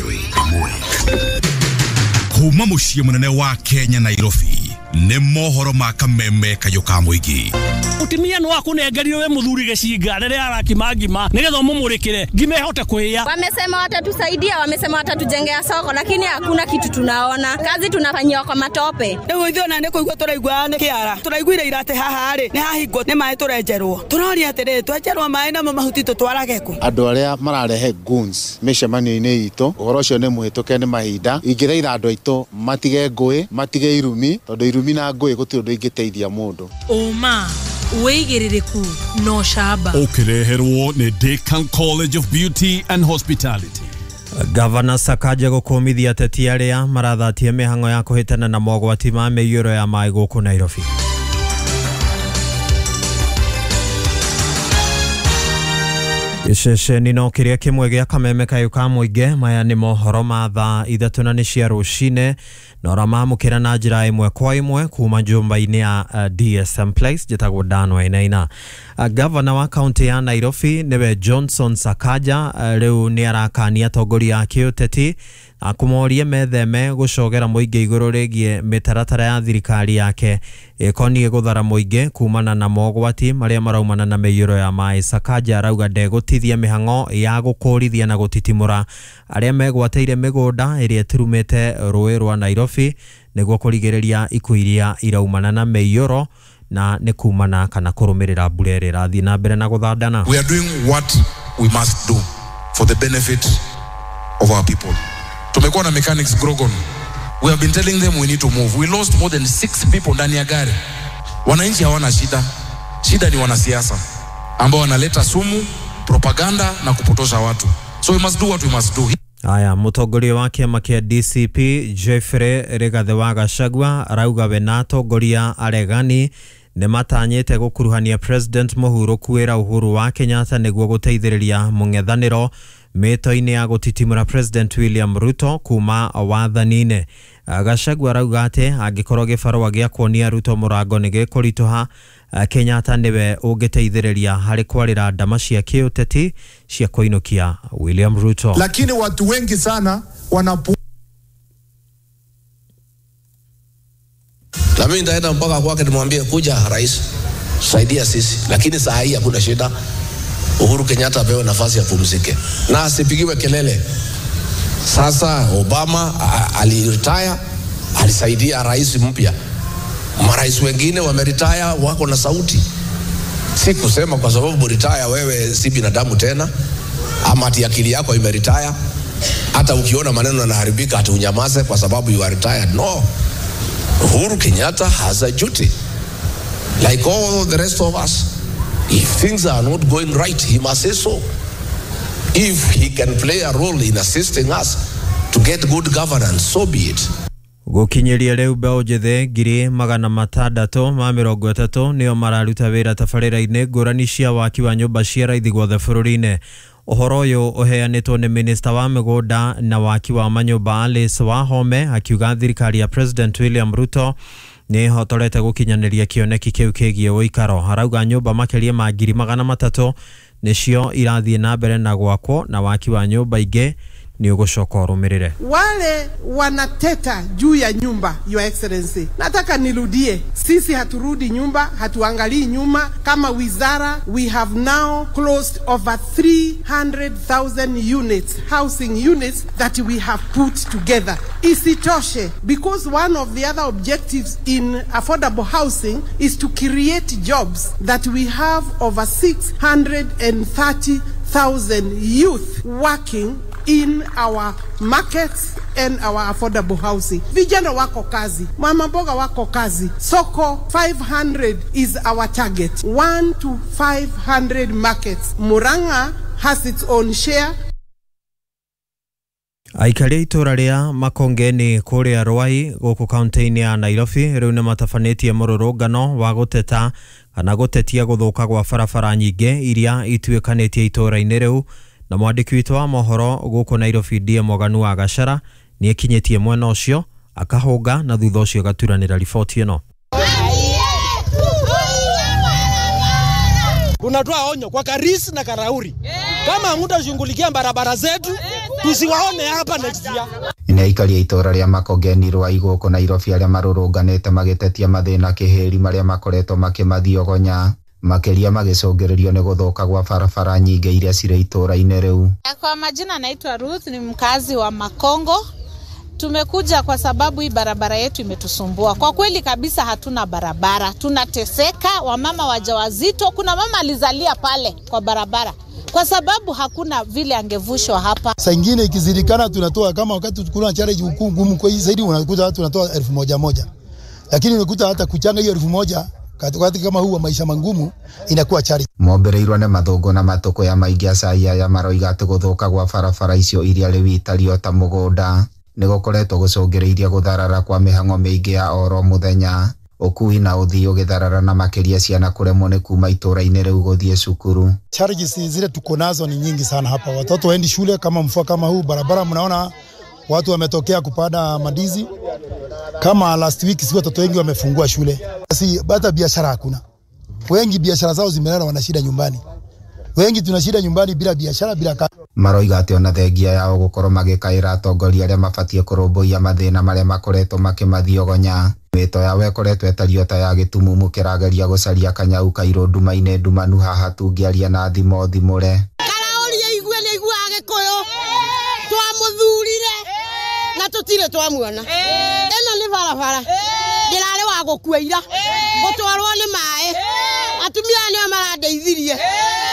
2.1. Kuma muciĩ mũnene wa Kenya Nairobi nĩ mohoro ma kameme kayũ ka mũingĩ. Mutumia no akunengerire we muthuri gicinga riria arakima ngima nigetha umumurikire ngima ihote kuhia. Wamesema watatusaidia, wamesema watatujengea soko, lakini hakuna kitu tunaona. Kazi tunafanyiwa kwa matope. Riu ithuĩ ona nĩ kũigua tũraigua nĩ kĩara. Tũraiguire ira atĩ haha rĩ nĩ hahingwo nĩ maĩ tũrenjerwo. Tũroria atĩrĩrĩ, twenjerwo maĩ namo mahuti tũtwarage kũ? Andũ arĩa mararehe goons mĩcemanio-inĩ itũ, ũhoro ũcio nĩ mũhĩtũke nĩ mahinda. Ingĩthaitha andũ aitũ matige ngũĩ, matige irumi, tondũ irumi na ngũĩ gũtirĩ ũndũ ingĩteithia mũndũ. Ũma wĩigĩrĩrĩku no camba. Ũkĩreherwo nĩ Decan College of Beauty and Hospitality. Gavana Sakaja gũkũmithia ateti arĩa marathatie mĩhang'o ya kũhĩtana na mogwati ma mĩiyũro ya maĩ gũkũ Nairobi. Gĩceceni no kĩrĩa kĩmwe gĩa kameme kayũ ka mũingĩ. Maya nĩ mohoro ma thaa 3 na nĩ cia rũcinĩ na ũramamũkĩra na njĩra ĩmwe kwa ĩmwe kuma nyũmba-inĩ ya DSM Place. Njĩtagwo Dan Wainaina. Gavana wa kaunti ya Nairobi nĩwe Johnson Sakaja rĩu nĩ arakania atongoria a kĩũteti akũmorie metheme gũcogera mũingĩ igũrũ rĩgiĩ mĩtaratara ya thirikari yake ĩkoniĩ gũthara mũingĩ kumana na mogwati marĩa maraumana na mĩiyũro ya maĩ. Sakaja arauga ndegũtithia mĩhang'o ya gũkũrithia na gũtitimũra arĩa megwatĩire mĩgũnda ĩrĩa ĩturumĩte rũĩ rwa Nairobi nĩguo kũrigĩrĩria ikuũ iria iraumana na mĩiyũro na nĩ kumana kana kũrũmĩrĩra mbura ĩrĩa ĩrathiĩ na mbere na gũthandana. We are doing what we must do for the benefit of our people. Tumekuwa na mechanics Grogon. We have been telling them we need to move. We lost more than 6 people ndani ya gari. Wananchi hawana shida. Shida ni wanasiasa ambao wanaleta sumu, propaganda na kupotosha watu. So we must do what we must do. Aya, mũtongoria wa kĩama kĩa DCP Jeffrey Rigathi wa Gachagua arauga we na atongoria aregani nĩ matanyĩte gũkuruhania President mũhurũku wĩra Uhuru wa Kenyatta nĩguo gũteithĩrĩria mũng'ethanĩro mĩto-inĩ ya gũtitimũra President William Ruto kuma wathani-inĩ. Gachagua arauga atĩ angĩkorwo gĩbarũa gĩa kuonia Ruto mũrango nĩ gĩkũritũha, Kenyatta nĩwe ũngĩteithĩrĩria harĩ kwarĩra ndama cia kĩũteti cia kũinũkia William Ruto. Lakini watu wengi sana wanapu. Na mimi nitaenda mpaka kwake nimwambie, kuja rais, saidia sisi. Lakini saa hii hakuna shida. Uhuru Kenyatta apewe nafasi apumzike na asipigiwe kelele. Sasa Obama aliretire, alisaidia rais mpya. Marais wengine wameretire wako na sauti. Si kusema kwa sababu retire wewe si binadamu tena, ama ati akili yako imeretire. Hata ukiona maneno yanaharibika ati unyamaze kwa sababu you are retired. No. Uhuru Kenyatta has a duty like all the rest of us. If things are not going right, he must say so. If he can play a role in assisting us to get good governance, so be it. Gũkinyĩria rĩu mbeũ njĩthĩ 630 nĩo mararuta wĩra tabarĩra-inĩ ngũrani cia waki wa nyũmba cia raithi guothe bũrũri-inĩ. Ũhoro ũyũ ũheanĩtwo nĩ minista wa mĩgũnda na waki wa manyũmba Alice Wahome akiuga thirikari ya President William Ruto nĩ ĩhotorete gũkinyanĩria kĩoneki kĩu kĩgiĩ ũikaro. Arauga nyũmba makĩria ma 300,000 nĩcio irathiĩ na mbere na gwakwo na waki wa nyũmba ingĩ ni ũgũcoka ũrũmĩrĩre. Wale wanateta juu ya nyumba, Your Excellency, nataka nirudie, sisi haturudi nyumba, hatuangalii nyuma. Kama wizara, we have now closed over 300,000 units, housing units that we have put together. Isitoshe, because one of the other objectives in affordable housing is to create jobs, that we have over 630,000 youth working in our markets and our affordable housing. Vijana wako kazi, mama mboga wako kazi. Soko 500 is our target. 1 to 500 markets. Murang'a has its own share. Aikari a itũra rĩa Makongeni kũrĩa Ruai gũkũ kaunti-inĩ ya Nairobi rĩu nĩ matabanĩtie mũrũrũngano wa gũteta kana gũtetia gũthũka gwa barabara nyingĩ iria ituĩkanĩtie itũra-inĩ rĩu. Na mwandĩki witũ wa mohoro gũkũ Nairobi D Moganu wa Gachara nĩ ekinyĩtie mwena ũcio akahũnga na thutha ũcio agaturanĩra riboti ĩno. Tunatoa onyo kwa Karis na Karauri, kama hamtashughulikia barabara zetu, Tusiwaone hapa next year. Nĩ aikari a itũra rĩa Makongeni rwa Igũkũ Nairobi arĩa marũrũnganĩte magĩtetia mathĩna kĩhĩri marĩa makoretwo makĩmathiogonya makĩria magĩcũngĩrĩrio nĩ gũthũka gwa barabara nyingĩ iria cirĩ itũra-inĩ rĩu. Kwa majina naitwa Ruth, ni mkazi wa Makongo. Tumekuja kwa sababu hii barabara yetu imetusumbua. Kwa kweli kabisa hatuna barabara, tunateseka, wamama wajawazito, kuna mama alizalia pale kwa barabara kwa sababu hakuna vile angevushwa hapa. Saa ingine ikizidikana tunatoa kama wakati kuna challenge ngumu kwa hii zaidi unakuta watu tunatoa 1000. Lakini unakuta hata kuchanga hiyo 1000 katikati kama huu wa maisha mangumu inakuwa challenge. Mombereirwo nĩ mathũngũ na matũkũ ya maingĩ acai aya maroiga atĩ gũthũka gwa barabara icio iria rĩu itario ta mũgũnda nĩ gũkoretwo gũcũngĩrĩirie gũtharara kwa mĩhang'o mĩingĩ ya oro mũthenya, ũkui na ũthii ũgĩtharara na makĩria ciana kũremwo nĩ kuma itũra-inĩ rĩu gũthiĩ cukuru. Challenges zile tuko nazo ni nyingi sana hapa. Watoto waendi shule kama mvua kama huu, barabara mnaona watu wametokea kupanda mandizi. Kama last week si watoto wengi wamefungua shule. Si hata biashara hakuna. Wengi biashara zao zimelala, wana shida nyumbani. Wengi tuna shida nyumbani bila biashara bila kazi. Maroiga atĩ ona thengia yao gũkorwo magĩkaĩra atongoria arĩa mabatiĩ kũrũmbũiya mathĩna marĩa makoretwo makĩmathiogonya. Mĩto yao ĩkoretwo ĩtariĩ ta ya gĩtumumu kĩrageria gũcaria kanyau kairũ nduma-inĩ ndumanu haha tũngĩaria na thimo thimũre. Karaũria igue nĩ aiguaga Gĩkũyũ, twamũthurire na tũtirĩ twamuona. Ĩno nĩ barabara ndĩrarĩ wa gũkua ira gũtwarwo nĩ maĩ, atumia aya nĩo marandeithirie.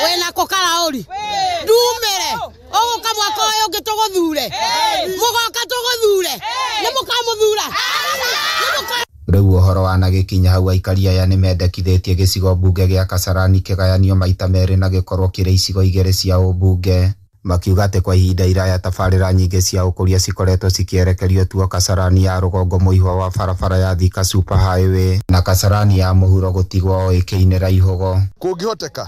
Wĩnako Karaũri ndumĩre ũgũka mwaka ũyũ ũngĩ tũgũthure, mũgoka tũgũthure, nĩ mũkamũthura. Rĩu ũhoro wanagĩkinya hau aikari aya nĩ mendekithĩtie gĩcigo mbunge gĩa Kasarani kĩgayanio maita merĩ na gĩkorwo kĩrĩ icigo igĩrĩ cia ũmbunge, makiuga atĩ kwa ihinda iraya tabarĩra nyingĩ cia ũkũria cikoretwo cikĩerekerio tuo Kasarani ya rũgongo mũihwa wa barabara ya Thika Super Highway na Kasarani ya mũhuro gũtigwo o ĩkĩinĩra ihũgo. Kũngĩhoteka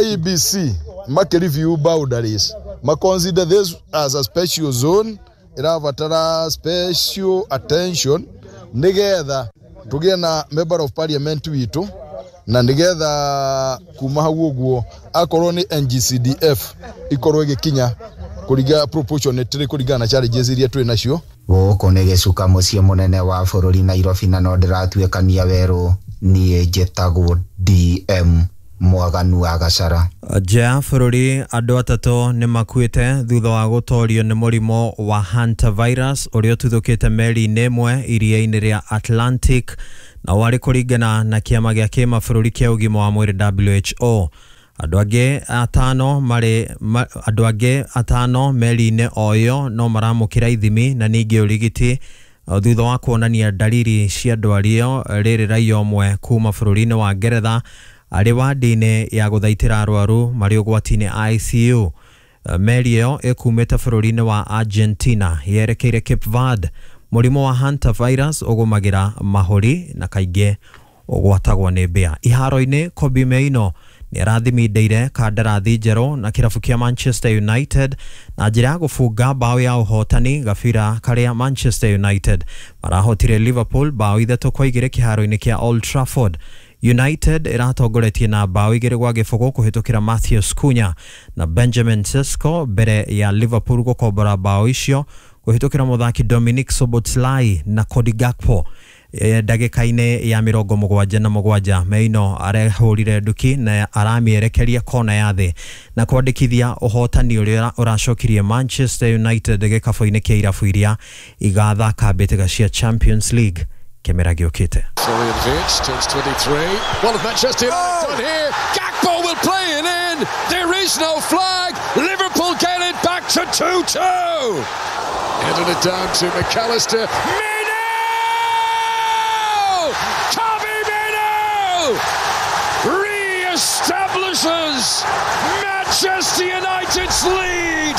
IEBC make review boundaries, ma consider this as a special zone irabatara special attention nigetha tugie na member of parliament witu na nigetha kuma hau uguo akorwo ni NGCDF ikorwo igikinya kuringa proportionately kuringana na challenges iria twi nacio. Gũkũ nĩ gĩcuka mũciĩ mũnene wa bũrũri Nairobi na no ndĩratuĩkania werũ. Niĩ njĩtagwo DM Mwaganu wa Gachara. Nja ya bũrũri andũ atatũ nĩ makuĩte thutha wa gũtorio nĩ mũrimũ wa hantavirus ũrĩa ũtuthũkĩte meri-inĩ ĩmwe iria-inĩ rĩa Atlantic na warĩ kũringana na kĩama gĩa kĩmabũrũri kĩa ũgima wa mwĩrĩ WHO. Andũ angĩ atano meri-inĩ o ĩyo no maramũkĩra ithimi na ningĩ ũrigiti thutha wa kuonania dalili cia ndwari ĩyo. Rĩrĩ raia ũmwe kuma bũrũri-inĩ wa Ngeretha arĩ wadi-inĩ ya gũthaitĩra arwaru marĩ ũgwati-inĩ ICU. Meri ĩyo ĩkumĩte bũrũri-inĩ wa Argentina yerekeire Cape Verde. Mũrimũ wa hantavirus ũgũmagĩra mahũri na kaingĩ ũgwatagwo nĩ mbĩa. Iharo-inĩ Kobbie Mainoo nĩ arathimindeire kandarathi njerũ na kĩrabu kĩa Manchester United na njĩra ya gũbunga bao ya ũhotani gabira karĩa Manchester United marahotire Liverpool bao 3-2 kĩharo-inĩ kĩa Old Trafford. United ĩratongoretie na bao 2-0 kũhĩtũkĩra Matheus Cunha na Benjamin Sesko mbere ya Liverpool gũkombora bao icio kũhĩtũkĩra mũthaki Dominic Szoboszlai na Cody Gakpo. Ndagĩka-inĩ ya 77 Mainoo arehũrire nduki na aramĩerekeria kona ya thĩ na kwandĩkithia ũhotani ũrĩa ũracokirie Manchester United gĩkabũ-inĩ kĩa irabu iria igathaka mbĩtĩka cia Champions League kĩmera gĩũkĩte. Florian Wirtz turns 23. One of Manchester United done here. Gakpo will play it in. There is no flag. Liverpool get it back to 2-2. Handed it down to McAllister. Mainoo! Kobbie Mainoo re-establishes Manchester United's lead.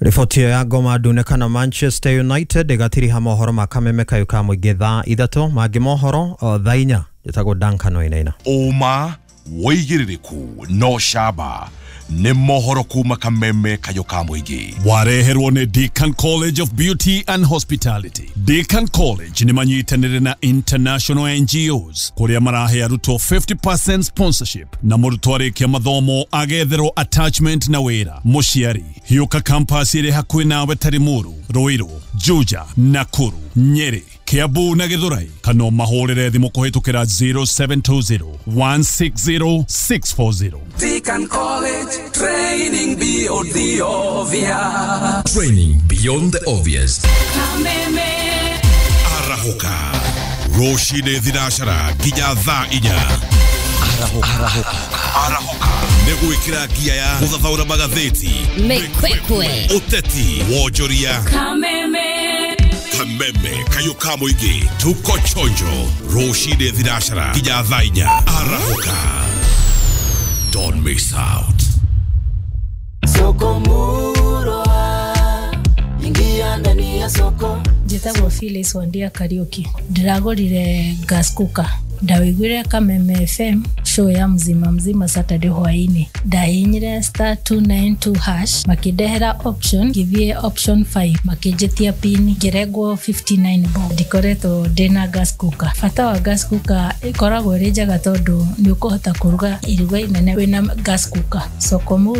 Riboti ya ngoma ndune kana Manchester United ĩgatiriha mohoro ma kameme kayo ka mũingĩ thaa 3 mangĩ mohoro thaa 4. Njĩtagwo Duncan Wainaina. Ũma Wĩigĩrĩrĩku no camba nĩ mohoro kuma kameme kayũ ka mũingĩ. Wareherwo nĩ Deakin College of Beauty and Hospitality. Deakin College nĩ manyitanĩire na international NGOs kũrĩa marahe arutwo 50% sponsorship na mũrutwo arĩkia mathomo agetherwo attachment na wĩra. Mũciari hiũka campus ĩrĩ hakuhĩ nawe ta Limuru, Ruiru, Juja, Nakuru, Nyeri, Kiambu na Githurai, kana ũmahũrĩre thimũ kũhĩtũkĩra 0720 160 640. Deakin College, training beyond the obvious. Training beyond the obvious. Arahũka rũcinĩ thinacara nginya thaa 4. Arahũka nĩ gwĩkĩra ngia ya gũthathaũra magathĩti, Mĩkwekwe, ũteti, wonjoria, kameme kayũ ka mũingĩ. Tuko chonjo rũcinĩ thinacara nginya thaa 4. Arahũka, don't miss out. Soko Murwa, ingia ndani ya soko. Njĩtagwo Phyllis Wandia Kariũki. Ndĩragũrire gas cooker. Ndawĩiguire Kameme FM show ya mzima mzima Saturday hwainĩ. Ndahihinyire star 292 hash, makĩndehera option, ngĩthiĩ option 5, makĩnjĩtia pin, ngĩrengwo 59 bob. Ndikoretwo ndĩna gas cooker. Bata wa gas cooker ĩkoragwo ĩrĩ njega tondũ nĩ ũkũhota kũruga iruga inene wĩna gas cooker. Soko Murwa.